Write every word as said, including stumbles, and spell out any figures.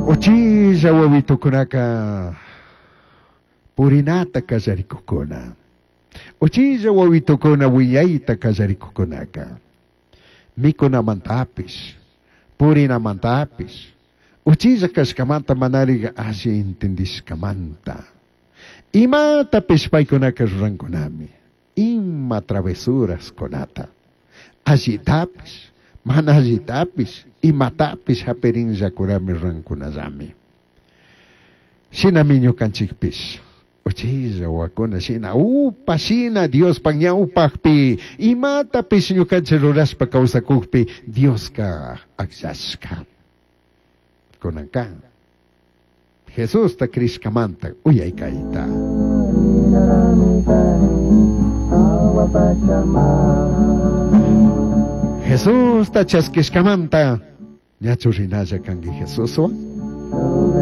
Uchilla wawitukunaka purinata kallarikukuna. Uchilla wawitukuna wiñayta kallarikukunaka. Mikunamantapish, purinamantapish, uchilla kashkamanta manariga alli entendishkamanta. Imatapish paykunaka rurankunami. Ima travesuraskunata. Allitapish, mana allitapish, imatapish hapirinllakunami rurankunallami. Shinami ñukanchikpish. Uchilla wawakuna shina upa shina Diospaj ñawpajpi imatapish ñukanchik rurashpa kawsakukpi Dioska akllashka. Kunanka Jesusta crishkamanta uyaykayta. Jesusta chaskishkamanta ñachu rinalla kanki Jesuswan?